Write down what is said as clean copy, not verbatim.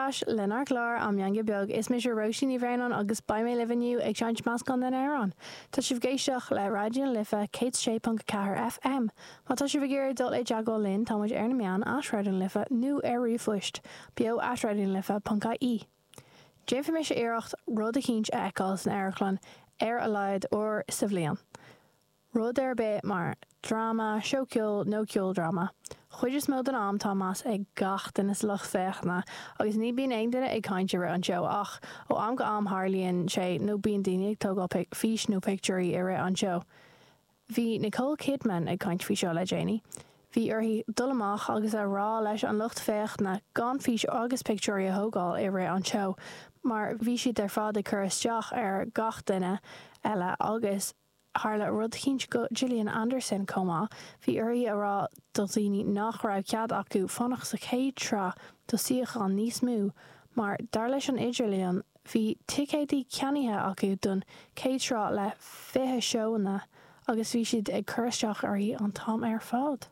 ais lenár gclár An Meangadh Beag. Is mise Róisín Ní Bhraonáin agus beidh mé libh inniu ag seinnt meascán den amhrán. Tá sibh ag éisteacht le Raidió na Life 106.4 FM. Má tá sibh ag iarraidh dul i dteagmháil linn tá muid ar na meáin at Raidió na Life nó ar ríomhphost, beo at raidionalife.ie. Déanfaidh mise iarracht rud eicínt a fheiceáil san amharclann ar a laghad uair sa bhliain. Rud ar bith mar dráma, seó ceoil nó ceoldráma. Chuid is mó den am tá meas ag gach duine sa lucht féachana agus ní bíonn aon duine ag caint i rith an tseó ach ó am go am tharlaíonn sé nó bíonn daoine ag tógáil fís nó pictiúirí i rith an tseó. Bhí Nicole Kidman ag caint faoi seo le déanaí. Bhí uirthi dul amach agus a rá leis an lucht féachana gan fís agus pictiúirí a thógáil i rith an tseó mar bhí siad ar fad ag cur isteach ar gach duine eile agus Tharla rud eicínt go Gillian Anderson chomh maith, bhí uirthi a rá do dhaoine nach raibh cead acu fanacht sa chéad sraith do suíochán níos mó mar, dar leis an idirlíon, bhí ticéadaí ceannaithe acu don chéad sraith le 20 seóanna agus bhí siad ag cur isteach uirthi an t-am ar fad.